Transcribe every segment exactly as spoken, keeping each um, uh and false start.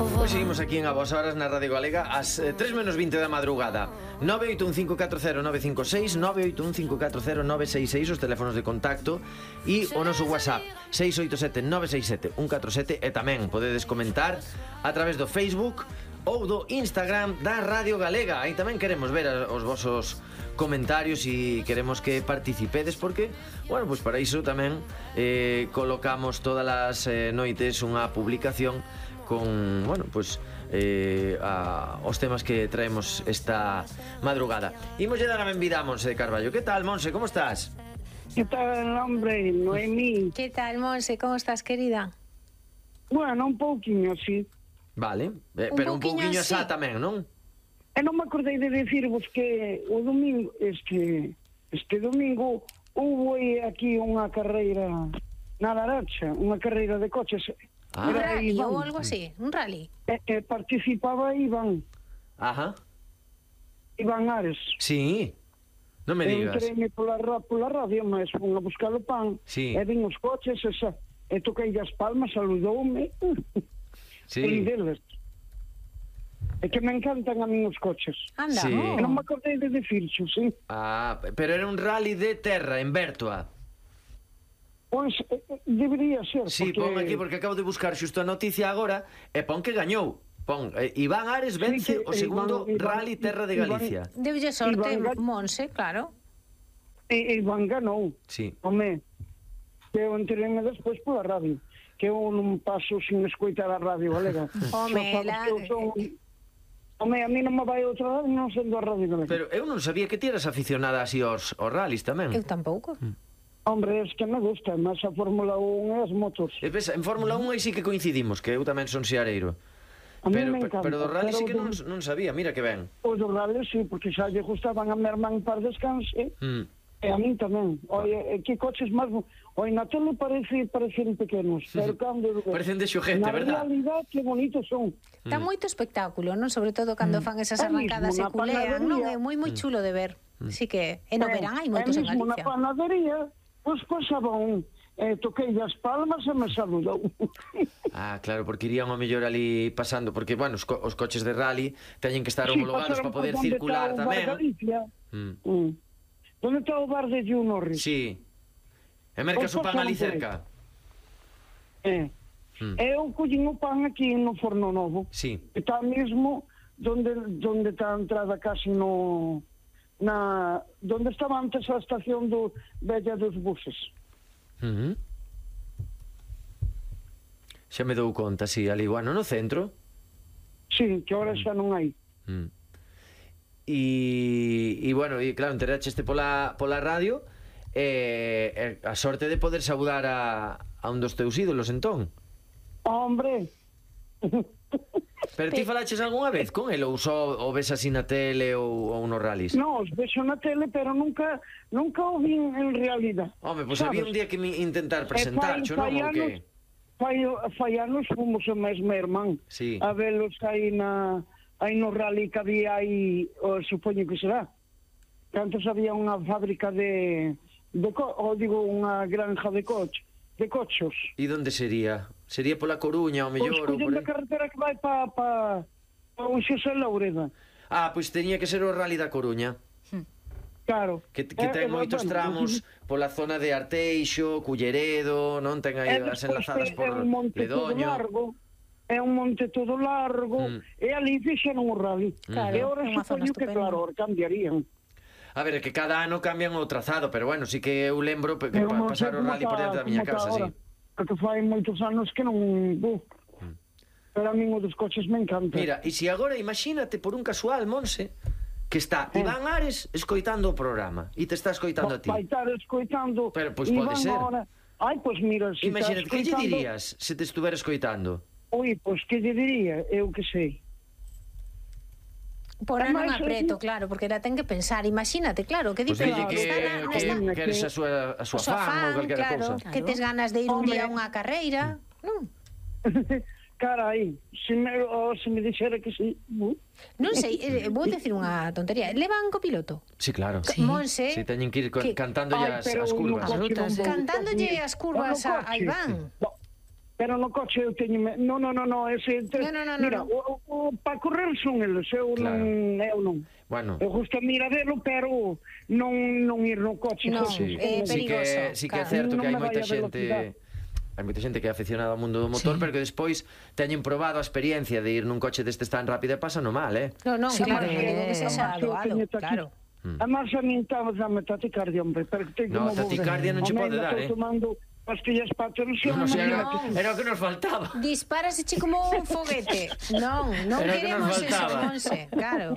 Pois seguimos aquí en A Vos Horas na Radio Galega ás eh, tres menos vinte da madrugada. Nove oito un cinco catro cero nove cinco seis, nove oito un cinco catro cero nove seis seis, os teléfonos de contacto, e o noso WhatsApp seis oito sete nove seis sete un catro sete. E tamén podedes comentar a través do Facebook ou do Instagram da Radio Galega. Aí tamén queremos ver os vosos comentarios e queremos que participedes, porque, bueno, pois para iso tamén eh, colocamos todas as eh, noites unha publicación con, bueno, pois eh, a, os temas que traemos esta madrugada. Imos lle dar a benvida a Monse de Carballo. Que tal, Monse, como estás? Que tal, hombre, Noemí? Que tal, Monse, como estás, querida? Bueno, un pouquiño, sí. Vale, eh, Un pero un pouquiño pouquiño así. xa tamén, non? E non me acordei de decirvos que o domingo, este, este domingo, hubo aquí unha carreira na Laracha, unha carreira de coches. Ah. Un Era rally Iván. ou algo así, un rally. E, e participaba Iván, Ajá, Iván Ares. sí, non me digas. Entreime pola, ra- pola radio, mas fun a buscar o pan, Sí. e vin os coches, e, xa, e toquei as palmas, saludoume, Sí. e deles. É que me encantan a mí os coches. Anda, Sí. E non no. me acordei de decirxo, sí. Ah, pero era un rally de terra en Bertua. Pois eh, eh, debería ser, Sí, porque... pon aquí porque acabo de buscar xusto a noticia agora e pon que gañou. Pon, eh, Iván Ares vence Sí, o que segundo Iván- Iván- rally terra de Iván- Galicia. Deulle sorte, Iván- Monse, claro. E, e Iván ganou. Sí. Home, que eu enteréme despois pola radio, que eu non paso sin escoitar a radio galega. Home, Xa sabes la- que eu son... Home, a mí non me vai outra radio non sendo a radio galega. Pero eu non sabía que ti eras aficionada así aos, aos rallies tamén. Eu tampouco. Hombre, es que me gusta máis a Fórmula un e as motos. E ves, en Fórmula un aí sí que coincidimos, que eu tamén son seareiro. A mí Pero, me pero, encanta. pero do rally sí que Pero non, do- non sabía, mira que ben. Os do rally, sí, porque xa lle gustaban a mi irmán para descanse, Mm. e a mí tamén. Oye, eh, que coches máis... Oye, na tele parece, parecen pequenos, pero cando... Parecen de xoguete, na verdad? realidad, que bonitos son. Dá moito espectáculo, non? Sobre todo cando fan esas É arrancadas mismo e na culean, non? panadería. É moi moi chulo de ver. Sí que, e no verán hai moitos e en mesmo na Galicia. panadería, pois pasaba un... Eh, toquei as palmas e me saludou. Ah, claro, porque irían ao mellor ali pasando, porque, bueno, os, co os coches de rally teñen que estar Sí, homologados pasaron para poder por onde circular está o bar tamén. Galicia. Mm. Mm. Onde está o bar de Gio Norris? Sí. E mercas o Pois pan ali pasaron por cerca. Eh. Mm. Eu collín o pan aquí no Forno Novo. Sí. Está mesmo donde donde está a entrada casi no na donde estaba antes a estación do Bella dos buses. Uh -huh. Xa me dou conta, sí, ali, bueno, no centro. Sí, que ahora xa non hai. Mm. E, e bueno, e claro, enteraste pola, pola radio e, e a sorte de poder saudar a, a un dos teus ídolos, entón. Hombre. Pero ti falaches algunha vez con el ou só o ves así na tele ou, ou nos rallies? No, os vexo na tele, pero nunca nunca o vi en realidad. Home, pois pues Sabes? había un día que me intentar presentar, xo, non? fai Ou que? anos, fai, fai anos fomos o mesmo irmán. Sí. A velos aí na aí no rally que había aí, o, supoño que será. Que antes había unha fábrica de, de co, ou digo, unha granja de coche, de cochos. E onde sería? Sería pola Coruña, ao Pois mellor, ou por collendo aí? a carretera que vai pa, pa, pa un Xosé Laureda. Ah, pois teñía que ser o rally da Coruña. Claro. Que, que ten Eh, eh, moitos bueno, tramos pola zona de Arteixo, Culleredo, non? Ten aí E as despois enlazadas é por un monte todo Ledoño. largo, é un monte todo largo, Mm. e ali fixeron o rally. Claro, e ahora é unha zona supoño que estupenda. claro, ahora cambiarían. A ver, é que cada ano cambian o trazado, pero bueno, sí que eu lembro que Pero pa non pasar sei o como rally por está- dentro da miña como está casa, sí. ahora, porque fai moitos anos que non... Uh, pero a min o dos coches me encanta. Mira, e se agora imagínate por un casual, Monse, que está Iván Ares escoitando o programa e te está escoitando a ti. Vai estar escoitando... Pero, pois, pode Iván ser. Ahora... Ai, pois mira, se Imagínate, está que lle escoitando... dirías se te estuvera escoitando? Ui, pois que lle diría? Eu que sei. Poran un Ademais, apreto, eu- claro, porque la ten que pensar. Imagínate, claro, que Pois dice dille que, está na- que, está- que eres a súa, a súa o súa fan ou calquera claro, cousa. que tes ganas de ir un Home. día a unha carreira, non? Carai, se me, oh, se me dixera que sí. Uh. Non sei, eh, vou decir unha tontería. Levan copiloto? Sí, claro. Sí. Monse, Si teñen que ir co- que- cantándolle Ai, as, pero as no curvas. coche non vou Cantándolle conducir. as curvas No a- a coche. Iván. No. Pero no coche eu teño... No, no, no, no, ese... No, no, no, no, mira, no. o, o, para correr son eles, eu Claro. non... Eu non. Bueno, Eu gusta miradelo, pero non, non ir no coche. Non, coche, eh, sí que, perigoso, sí que é claro. certo que hai Non me moita vai a xente velocidade. hai moita xente que é aficionada ao mundo do motor, Sí. pero que despois teñen probado a experiencia de ir nun coche destes tan rápido e pasano mal, eh? No, non, Sí, claro, porque- non digo que sexa Además, eu doado, teño aquí- claro. Además, a min estaba dame taticardia, hombre, pero que teño No, como vos. taticardia non che Home, pode ainda dar, estou eh. tomando pastillas para a tensión. Non sei, era, imagínate. era o que nos faltaba. Dispárase che como un foguete. Non, non Era o que queremos nos eso, faltaba. Monse, claro.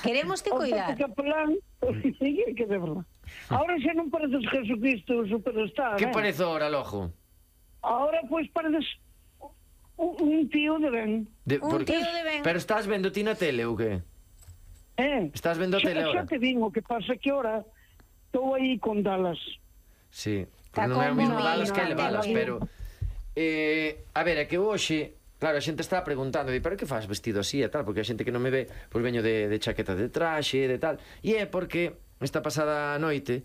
Queremos te O cuidar. Tati Capelán, que de verdad. Ahora xa non pareces Jesucristo superstar, Que eh? parezo ahora, lojo? Ahora, pois, pareces un, un tío de ben. De, Un tío de ben. Pero estás vendo ti na tele ou que? Eh? Estás vendo a Xa- tele Xa ahora? te digo, que pasa que ahora estou aí con Dallas. Sí, Está porque non é o como mismo mi balas que nana, elevalas, sí. pero eh, a ver, é que hoxe claro, a xente está preguntando, di, pero que faz vestido así e tal, porque a xente que non me ve, pois veño de, de chaqueta de traxe, de tal, e é porque esta pasada noite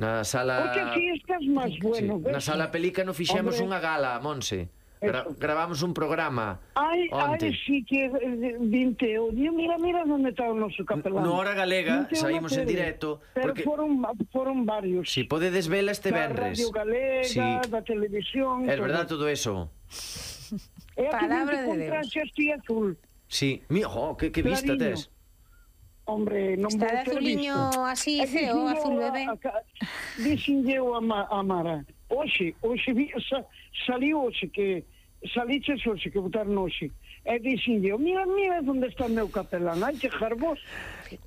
na sala Porque aquí estás máis bueno, sí, ves? na sala Pelícano fixemos Hombre. unha gala, Monse. Gra Eso. gravamos un programa Ai, onte. ai, sí que eh, vinte eu. Digo, mira, mira onde está o noso capelán. No Hora Galega Vinte eu na saímos en tele. directo, Pero porque- foron, foron varios. Si podedes vela este Da venres. Radio Galega, Sí. da televisión. É todo. verdad todo eso. E aquí Palabra vinte de con Deus. traxe así azul. Sí, mi, jo, que, que vista Clariño. tes. Hombre, non Está vou de ter azuliño visto. así E feo, dixen azul eu a- bebé. a ca- Dixen eu a, Ma- a Mara. Oxe, oxe, vi, sa, saliu oxe que... Saliches oxe que botaron oxe. E dixen eu, mira, mira onde está o meu capelán. Ai, que jarbos.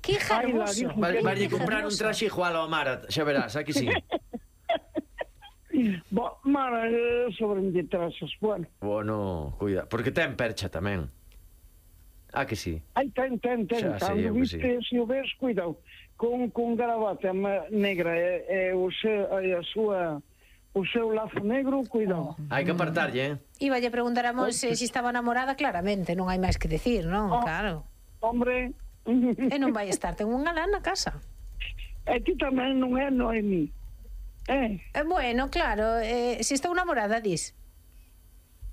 Que Ai, la jarboso. dijo. Vas Que- vas que comprar un traxe igual ao Mara, xa verás, aquí sí. Bo, Mara, eh, sobre de trazas. Bueno, Bueno, cuida, porque ten percha tamén. Ah, que sí. ai, ten, ten, ten. Xa sei eu Cando que viste, se o ves, cuidado. Con, con gravata ma- negra e, e o se, e a súa... O seu lazo negro, cuidado. Hai que apartarlle, eh? Iba a preguntar a Monse se estaba namorada, claramente, non hai máis que decir, non? Oh. Claro. Hombre, E non vai estar, ten un galán na casa. e ti tamén non é Noemi. Eh, Eh, bueno, claro, eh, se estou namorada, dis.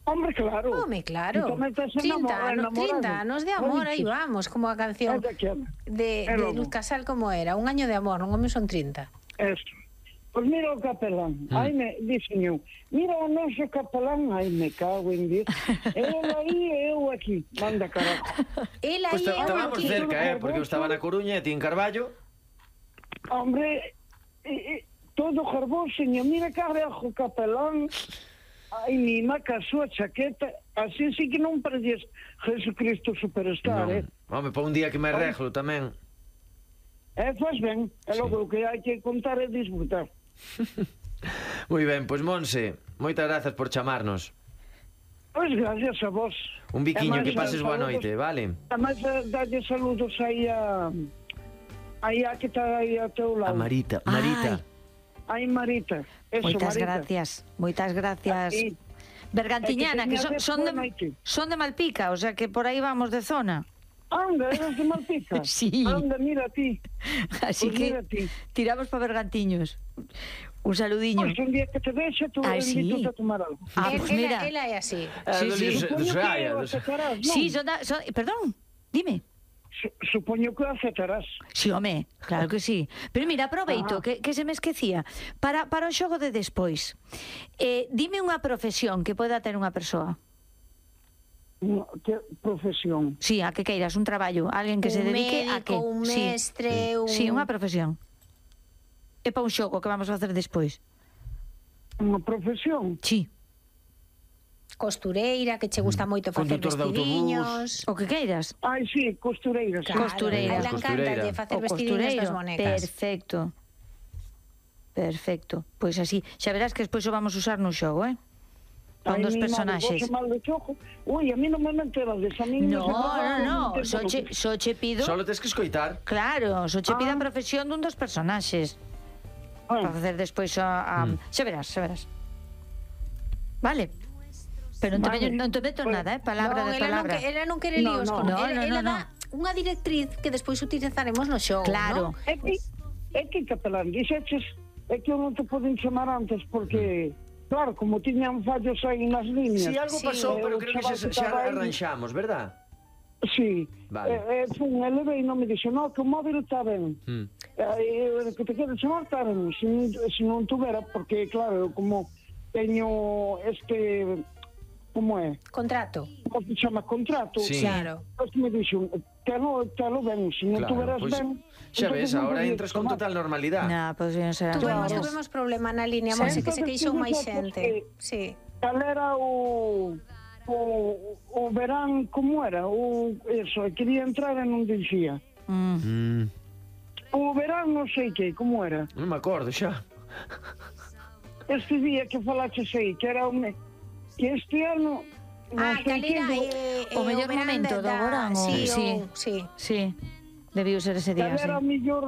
hombre, claro. Home, claro. Ti tamén estás trinta enamorado, anos, enamorado. trinta anos de amor, Ai, aí sí. vamos, como a canción É daquela. de, É de logo. Luz Casal como era, un año de amor, non home son trinta. Eso. Pois mira o capelán, Mm. ai me, dixen eu, mira o noso capelán, ai me cago en Dios. Ele aí e eu aquí, manda carajo. Ela Pois aí pues é estábamos aquí. cerca, eh? Porque eu estaba na Coruña e ti en Carballo. Hombre, e, e, todo jarboso, mira carajo capelán, ai mi maca a súa chaqueta, así sí que non pareces Jesucristo superstar, eh? Non. Home, pa un día que me arreglo tamén. E faz ben, e logo o que hai que contar é disfrutar. Moi ben, pois Monse, moitas grazas por chamarnos. Pois gracias a vos. Un biquiño, E máis, que pases boa saludos- noite, vale? Además, dalle saludos aí a... Aí a que está aí a teu A lado. Marita, Marita. Aí Marita. Eso, Moitas Marita. gracias, moitas gracias. Aquí. Bergantiñana, É que que son, teña son, boa de, noite. son de Malpica, o sea que por aí vamos de zona. Anda, eres de Malpica. Sí. Anda, mira a ti. Así Pois que mira ti. tiramos para Bergantiños. Un saludiño. Pois un día que te vexe, tú Ai, sí. invitas a tomar algo. Ah, El- pues ela, mira. ela é así. Ah, Sí, do sí. Luis- do Supoño Xaia, que do- o aceptarás, non? Sí, son, da, son perdón, dime. Su- Supoño que o aceptarás. Sí, home, claro que sí. Pero mira, aproveito, Ah. que, que se me esquecía. Para, para o xogo de despois, eh, dime unha profesión que poda ter unha persoa. No, que profesión. Sí, a que queiras, un traballo, alguén que se Un dedique a médico, que... un Sí. mestre, un... Sí, unha profesión. É para un xogo que vamos a facer despois. Unha profesión. Sí, Costureira, que che gusta moito facer Condutor de vestidiños. o que queiras. Ai, sí, costureira. sí. Claro, Costureira. a ela Costureira. encanta facer O vestidiños costureiro. das bonecas. Perfecto. Perfecto. Pois así, xa verás que despois o vamos usar no xogo, eh? Con Ai, dos mi madre, personaxes. vos mal de chojo. Ui, a mí non me enterades. A mí No, se me no, pasa no, un tempo só che, no- só che pido... Solo tes que escoitar. Claro, só che pido a Ah. profesión dun dos personaxes. Ah, Para facer despois a... a... Mm. Xa verás, xa verás. Vale. Pero non te, Vale. veño, non te meto Bueno, nada, eh? Palabra non, de ela non, palabra. que, ela non quere No, líos no. con No, ela, no, ela no, dá unha directriz que despois utilizaremos no show, Claro. ¿no? É que, é que capelán, dixeches, é que eu non te poden chamar antes porque claro, como tiñan fallos aí nas líneas. Si algo Sí, pasou, pero o creo que chaval xa, que xa estaba aí- arranxamos, verdad? Sí, Vale. eh, eh, fun, ele veio e non me dixo, no, que o móvil está ben. Mm. Eh, que te queres chamar, está ben. Se, non- se non tuvera, porque, claro, eu como teño este, como é? Contrato. Como se chama? Contrato. Sí. Claro. Pois me dixo, telo, telo ben, se non Claro, tuveras pois, ben... xa entonces ves, non ahora podías entras con chamar. total normalidade. Na, pois non será. Tuvemos, Claro. tuvemos problema na línea, Sí. Monse, que se queixou máis Entonces, xente. eh, Sí. Cal era o... O, o verán, como era? O, eso, quería entrar e non dixía. Mm. Mm, O verán non sei que, como era? non me acordo xa. Este día que falaches aí, que era o me... que este ano non Ah, sei cal que, era do- eh, o eh, mellor verán momento da- do verán, o- Sí, sí. o- sí. Sí, debiu ser ese día, cal sí. era o mellor...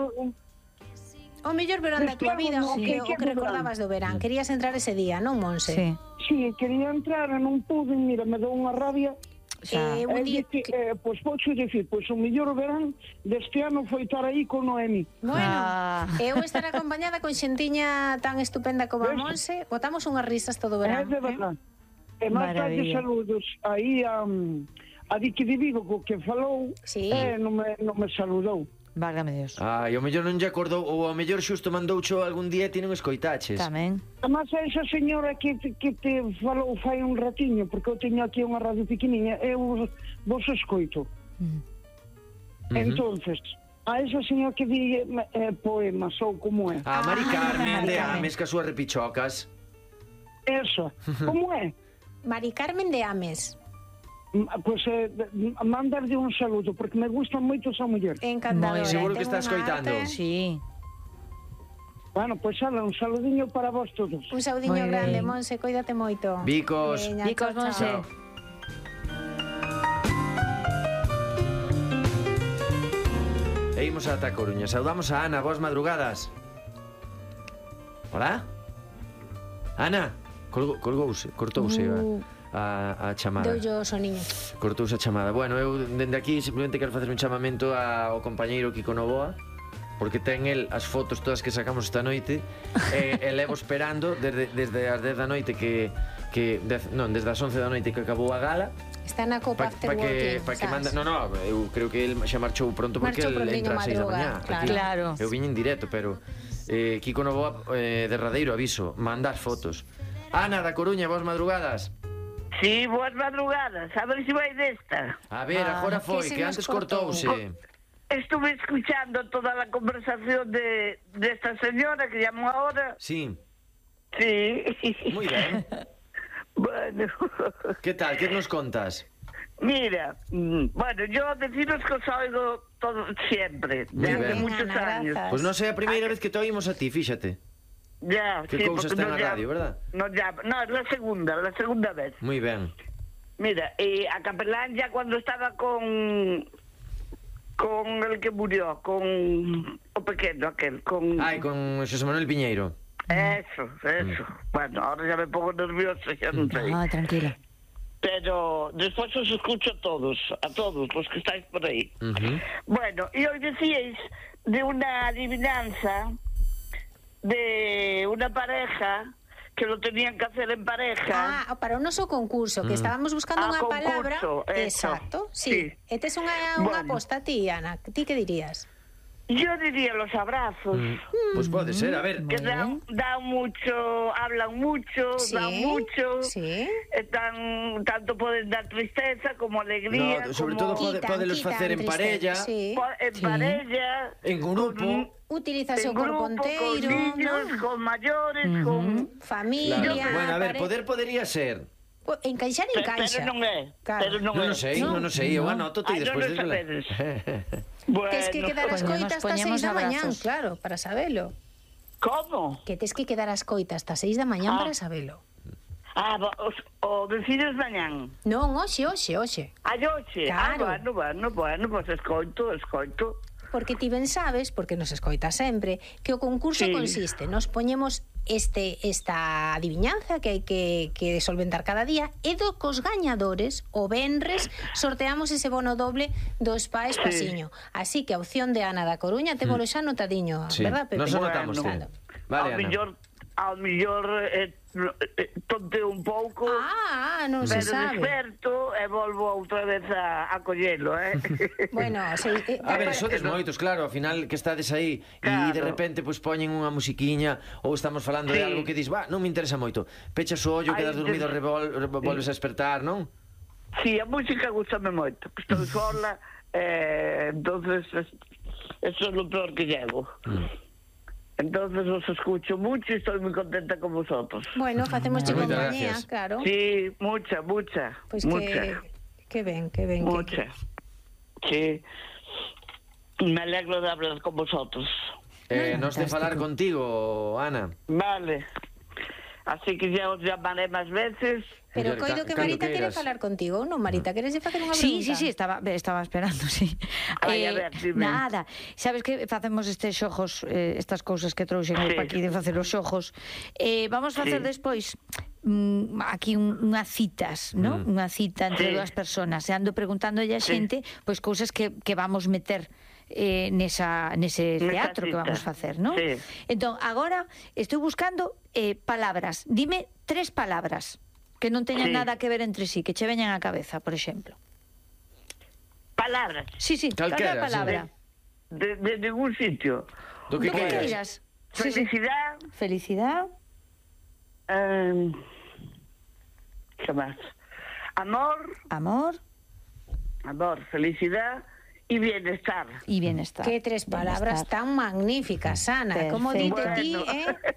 O mellor verán da tua Este vida, ano, o sí. que, o Que que verán? recordabas do verán. Querías entrar ese día, non, Monse? Sí, Sí, quería entrar e non pude, mira, me dou unha rabia. xa. Eh, un E día dice, que- eh, pois pocho dicir, pois o mellor verán deste ano foi estar aí con Noemi. Bueno, Ah. eu estar acompañada con xentiña tan estupenda como a Ves? Monse, botamos unhas risas todo o É verán. de verdad. E máis tarde Maravilla. saludos aí a, a Dique de Vigo, co que falou, Sí. e non me, non me saludou. Válgame Dios. Ai, o mellor non lle acordou, ou o mellor xusto mandoucho algún día e ti non escoitaches. Tamén. Además, a esa señora que te, que te falou fai un ratiño, porque eu teño aquí unha radio pequeniña, eu vos escoito. Mm. Ujú. Entonces, a esa señora que di eh, poemas ou como é. A Mari Carmen Mari de Carmen. Ames, que as súas repichocas. Esa, como é? Mari Carmen de Ames. M- Pois eh, mandarlle un saludo, porque me gusta moito esa muller. Encantadora. Moi ben. Seguro que ten está unha escoitando. arte. Sí. Bueno, pois ala, un saludiño para vos todos. Un saudiño Moi grande, ben. Monse, cuídate moito. Bicos. Veña, Bicos, chao, Monse. chao. E imos ata a Coruña. Saudamos a Ana, boas madrugadas. Hola? Ana, colgo, colgouse, cortouse Uh. a, a, a chamada. Doullo o soniño. Cortouse a chamada. Bueno, eu dende aquí simplemente quero facer un chamamento ao compañeiro Kiko Novoa, porque ten el as fotos todas que sacamos esta noite e, e levo esperando desde, desde as dez da noite que, que dez, non, desde as once da noite que acabou a gala Está na Copa para After pa que, Working, pa que sabes? manda, no, no, eu creo que el xa marchou pronto porque Marchou el prontiño entra ás seis da madruga, mañá. claro. Aquí. Claro. Eu viño en directo, pero eh, Kiko Novoa eh, derradeiro aviso, manda as fotos. Ana da Coruña, boas madrugadas. Sí, boas madrugadas. A ver se vai desta. A ver, Ah, agora que foi, se que nos antes cortou. cortouse. Estuve escuchando toda la conversación de, de esta señora que llamó ahora. Sí, Sí. moi ben. Bueno. Que tal, que nos contas? Mira, mm, bueno, yo deciros que os oigo todo siempre, Muy desde bien. muchos Ana, años. gracias. Pois non sei a primeira vez que te oímos a ti, fíxate. Ya, Que sí, cousa porque está nos na llama- radio, verdad? nos llama- no, es la segunda, la segunda vez. Moi ben. Mira, y a Capelán ya cuando estaba con con el que murió, con o pequeño aquel, con Ai, con Xosé Manuel Piñeiro. eso, eso. Bueno, ahora ya me pongo nervioso, ya no sé. Ah, tranquila. Pero después os escucho a todos, a todos los que estáis por ahí. Ujú. Bueno, y hoy decíais de una adivinanza de una pareja que lo tenían que hacer en pareja. Ah, para o noso concurso, que estábamos buscando Ah, unha concurso, palabra. eso. Exacto, sí. Sí. E tes unha, unha Bueno. aposta ti, Ana. Ti que dirías? Yo diría los abrazos. Mm, Pois pode ser, a ver. Que dan, dan mucho, hablan mucho, Sí, dan mucho. sí. eh, tan, tanto pueden dar tristeza como alegría. No, sobre como todo pode, Quitan, podelos quitan facer en tristeza, parella, Sí. po- en Sí. parella. en grupo. Utilizas En o corpo grupo, con inteiro, niños, ¿no? con mayores, con... Familia. Claro. Bueno, a ver, pare- poder podería ser. Po- Encaixar, Pe- encaixa. Pero non é, Claro. pero non Non é. o sei, non o sei, eu anoto Ai, e despois non o sabedes. Bueno, Tes que quedar as Poñemos- coitas hasta poñemos seis da mañán, abrazos. claro, para sabelo. ¿Cómo? Que tes que quedar as coitas hasta seis da mañán Ah. para sabelo. Ah, va- os, o decides mañán. Non, hoxe, hoxe, hoxe. A hoxe. Claro. Ah, bueno, bueno, bueno, pues escoito, escoito. Porque ti ben sabes, porque nos escoita sempre, que o concurso Sí. consiste, nos poñemos este esta adivinanza que hai que, que solventar cada día e do cos gañadores o venres sorteamos ese bono doble do Spa Espasiño. Así que a opción de Ana da Coruña témolo xa notadiño, Sí, verdad, Pepe? nos anotamos, Bueno, sí. Vale, ao Ana. millor, ao millor eh, tonteo un pouco, Ah, non se pero sabe. desperto e volvo outra vez a, a collelo, eh? Bueno, se, eh, A ver, sodes moitos, claro, ao final que estades aí e Claro. de repente pois poñen unha musiquiña ou estamos falando de Sí. algo que dis, va, non me interesa moito. Pechas o ollo, Ai, quedas dormido, de- revol, revol, volves a despertar, non? Sí, a música gustame moito. Estou sola, eh, entonces es- eso é lo peor que llevo. Mm. Entonces os escucho mucho y estoy muy contenta con vosotros. bueno, facemos Moitas compañía, gracias. claro. Sí, mucha, mucha, Pois mucha, que que ben, que ben. mucha. Sí, me alegro de hablar con vosotros. Eh, nos de Fantástico. falar contigo, Ana. Vale. Así que ya os llamaré más veces. Pero Muller, coido ca- que cando Marita quere queiras. falar contigo, non, Marita? Queres facer unha pregunta? Sí, sí, sí, estaba, estaba esperando, sí. Ai, a ver, dime. Nada, sabes que facemos estes xogos, eh, estas cousas que trouxen Sí. sí. aquí de facer os xogos. Eh, vamos facer Sí. despois mm, aquí un, unha citas, ¿no? Mm. Unha cita entre Sí. dúas personas. E ando preguntándolle a Sí. xente pois cousas que, que vamos meter eh, nesa, nese Nesa teatro que cita. vamos facer, ¿no? Sí. Entón, agora estou buscando eh, palabras. Dime tres palabras que non teñan Sí. nada que ver entre sí, que che veñan á cabeza, por exemplo. Palabras. Sí, sí, Calquera, calquera palabra. De, de ningún sitio. Do que Do que queiras. queiras. Sí, sí. Felicidad. Felicidad, eh, ¿Qué más? Amor. amor Amor, felicidad y bienestar. y bienestar. Que tres palabras Bienestar. tan magníficas, Ana. Como Perfecto. dite ti, Bueno. eh?